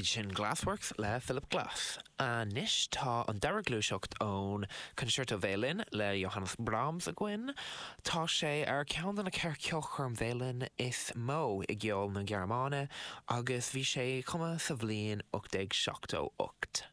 Sin Glassworks le Philip Glass. Anois tá an dara gluaiseacht ón Concerto Veidhlin le Johannes Brahms againn. Tá sé ar ceann de na 4 ceolchoirm veidhlin is mó i gceol na Gearmáine agus bhí sé cumtha sa bhliain 1878.